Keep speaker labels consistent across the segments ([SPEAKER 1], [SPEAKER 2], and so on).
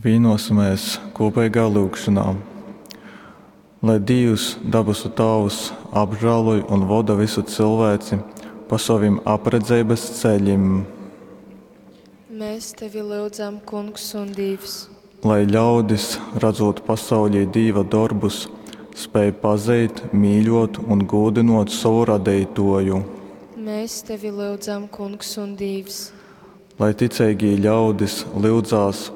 [SPEAKER 1] Vīnosimies kūpeigā lyugšonā. Lai Dīvs, dabasu Tāvs, apžāloj un voda visu cilvēci pa sovim apredzeibas ceļim.
[SPEAKER 2] Mēs tevi lyudzam, Kungs un Dīvs.
[SPEAKER 1] Lai ļaudis, radzūt pasaulī Dīva dorbus, spēj pazeit, mīļuot un gūdynuot sovu Radeituoju.
[SPEAKER 2] Mēs tevi lyudzam, Kungs un Dīvs.
[SPEAKER 1] Lai ticeigī ļaudis lyudzās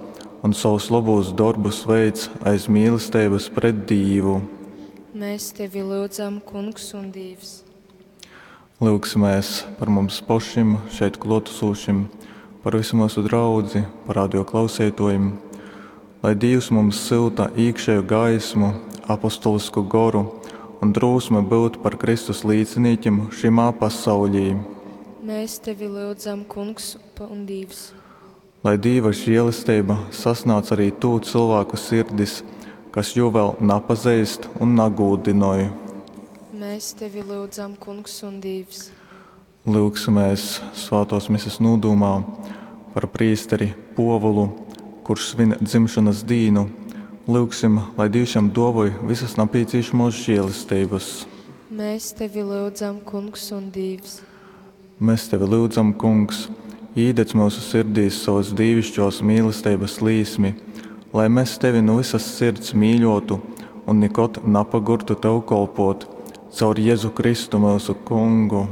[SPEAKER 1] un sovus lobūs dorbus veic aiz mīlesteibys pret Dīvu.
[SPEAKER 2] Mēs tevi lyudzam, Kungs un Dīvs.
[SPEAKER 1] Lyugsimēs par mums pošim, šeit kluotasūšim, par visu myusu draudzi, par radio klauseituojim. Lai Dīvs mums syuta īkšēju gaismu, apostolisku goru un drūsmi byut par Kristus līcinīkim šymā pasaulī.
[SPEAKER 2] Mēs tevi lyudzam, Kungs un Dīvs.
[SPEAKER 1] Lai Dīva žielesteiba sasnādz arī tū cylvāku sirdis, kas jū vēl napazeist un nagūdynoj.
[SPEAKER 2] Mēs tevi lyudzam, Kungs un Dīvs.
[SPEAKER 1] Lyugsimēs svātōs mises nūdūmā par prīsteri Puovulu, kurš svin dzimšonas dīnu. Lyugsim, lai Dīvs jam duovoj visas napīcīšamuos žielesteibys.
[SPEAKER 2] Mēs tevi lyudzam, Kungs un Dīvs.
[SPEAKER 1] Mēs tevi lyudzam, Kungs, īdedz myusu sirdīs sovas dīviškōs mīlesteibas līsmi, lai mes tevi nu vysas sirds mīļōtu un nikod napagurtu tev kolpōt. Caur Jezu Kristu myusu Kungu.